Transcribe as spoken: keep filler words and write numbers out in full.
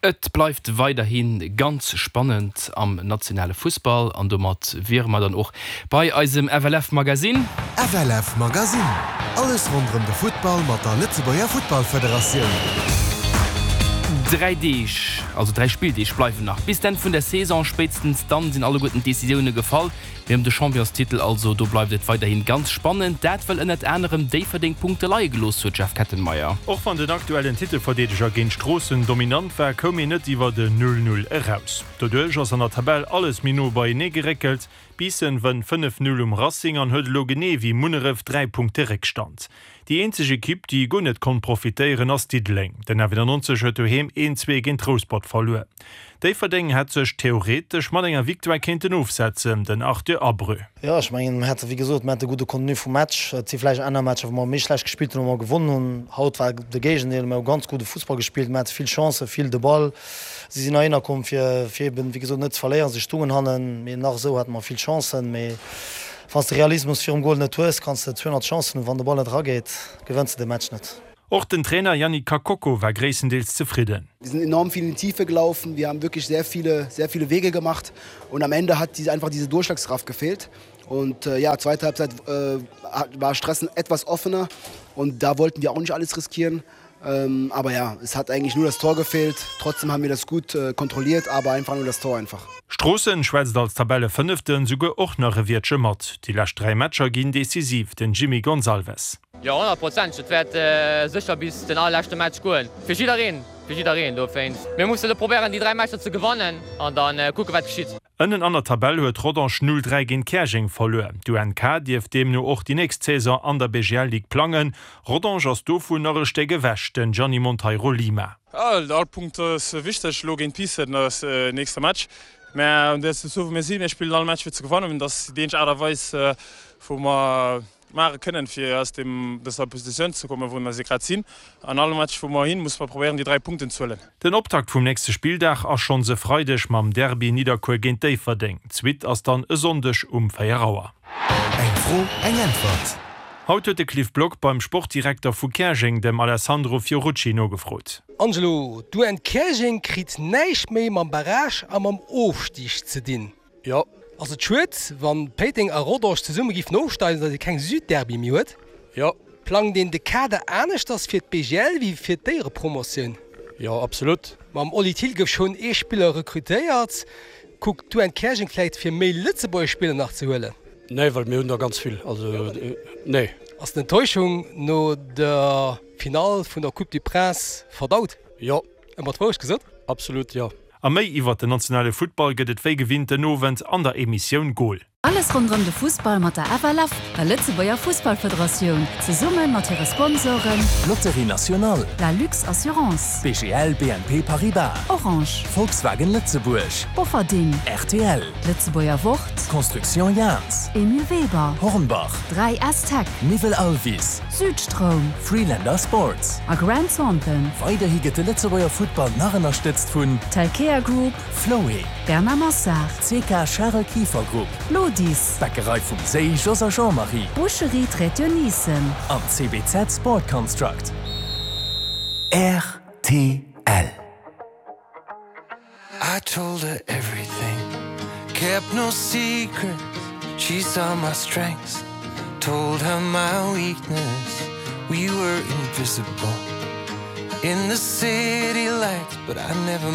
Et bleift weiderhi ganz spannend am nationale Fussball an domat wiere mer dann och bei eisem F L F Magazine. F L F Magazine. Alles ronderëm de Futtball mat der Lëtzebuerger Futtballfederatioun. Dräi Deeg, also dräi Spilldeeg bleiwen nach bis d'Enn vun der Saison. Spéitstens dann sinn alleguerten d'Decisioune gefall. Mee ëm de Championstitel also, do bleift et weiderhi ganz spannend. Dat well ënnert anerem Déifferdeng Punkte leie gelooss huet, Jeff Kettenmeyer. Och wann den aktuellen Titelverdeedeger géint Stroossen dominant war, koum een net iwwer den null null eraus. Doduerch ass an der Tabell alles méi no beienee geréckelt. Biissen wënnt fënnef null um Racing an huet elo genee wéi Munneref dräi Punkte Réckstand. Déi eenzeg Ekipp, déi guer net konnt profitéieren, ass Diddeleng. Den F nonzeg huet doheem een zwee géint Rouspert verluer. Déifferdeng hätt sech theoretesch mat enger Victoire kéinten ofsetzen, den Arthur Abreu. Jo, ech mengen, mir hate wéi gesot, mir hate gudde Contenu vum Match. Et si vläicht aner Matcher, wou mer méi schlecht gespillt hunn, wou mer gewonnen hunn. Haut war de Géigendeel, mir hu ganz gudde Fussball gespillt, mir hate vill Chancen, vill de Ball. Si sinn heihinner komm fir, fir eben, wéi gesot, net ze verléieren. Si stungen hannen, mee nach esou hate mer vill Chancen. Mee wann s de Realismus virum Gol net hues, kanns de zweehonnert Chancen hunn, wann de Ball net erageet, gewënns de de Match net. Och den Trainer Yannick Kakoko war gréisstendeels zefridden. Wir sind enorm viel in die Tiefe gelaufen, wir haben wirklich sehr viele, sehr viele Wege gemacht und am Ende hat diese, einfach diese Durchschlagskraft gefehlt. Und äh, ja, zweite Halbzeit äh, war Strassen etwas offener und da wollten wir auch nicht alles riskieren. Ähm, aber ja, es hat eigentlich nur das Tor gefehlt. Trotzdem haben wir das gut äh, kontrolliert, aber einfach nur das Tor einfach. Stroossen schwätzt als Tabellefënneften souguer och nach e Wiertche mat. Déi lescht dräi Matcher ginn decisiv, den Jimmy Gonsalves. Jo, honnert Prozent. Et wäert äh, sécher bis den allerleschte Match goen. Fir jiddereen, fir jiddereen dowéinst. Mir musse probéieren, déi dräi Matcher ze gewannen an dann äh, kucke wat geschitt. Ënnen an der Tabell huet Rodange null dräi géint Käerjeng verluer. D'U N K dierft deemno och déi nächst Saison an der B G L Ligue plangen. Rodange ass dovun nach e Stéck ewech, den Gianni Monteiro Lima. Ja, all Punkt ass wichteg, lo géint Biissen ass äh, nächste Match. Mä dat ass sou wéi mir sinn, mir spillen all Match fir ze gewannen, dat ass déi Aart a Weis äh, wou mer maache kënnen fir aus dem dëser Positioun ze kommen, wou mer se grad sinn. An all Match wou mer hin, musse mer probéieren déi dräi Punkten ze huelen. Den Optakt vum nächste Spilldag ass schonns e Freideg mam Derby Nidderkuer géint Déifferdeng. D'Suite ass dann e Sonndeg um véier Auer. Eng Fro, eng Äntwert. Haut huet de Cliff Block beim Sportdirekter vu Käerjeng, dem Alessandro Fiorucci nogefrot. Angelo, d'U N Käerjeng kritt näischt méi mam Barrage a mam Ofstig ze dinn. Jo. Ass et schued, wann Péiteng a Rodange zesumme géifen ofsteigen, datt ee keng Südderby méi huet? Jo. Plangt een de Kader aneschters fir d'B G L wéi fir d'Éierepromotioun? Jo, absolut. Mam Oli Thill gouf schonn ee Spiller rekrutéiert. Kuckt d'U N Käerjeng vläicht fir méi Lëtzebuerger Spiller nach ze huelen? Nee, well mir hunn der ganz vill. Also nee. Ass d'Enttäuschung no der Finall vun der Coupe du Prince verdaut? Jo. Ëmmer d'Wourecht gesot? Absolut, jo. A méi iwwer den nationale Futtball gëtt et wéi gewinnt den Owend an der Emissioun Goal. Alles ronderëm de Fussball mat der F L F, der Lëtzebuerger Fussballfederatioun, zesumme mat hire Sponsoren Loterie Nationale, La Lux Assurance, B G L B N P Paribas, Orange, Volkswagen Lëtzebuerg, Bofferding, R T L, Lëtzebuerger Wort, Construction Jans, Emile Weber, Hornbach, dräi S Tech, Niwel Alvis, Südstroum Freelander Sports a Grant Thornton. Weiderhi gëtt de Lëtzebuerger Futtball nach ënnerstëtzt vun Telkea Group, Floé, Bernard Massard, C K Charel Kieffer Group, Lodis, Bäckerei vum Séi Jos a Jean-Marie Boucherie Trétionissen an C B Z Sport Construct. R T L. I told her everything, kept no secrets. She saw my strengths, told her my weakness. We were invisible in the city lights, but I never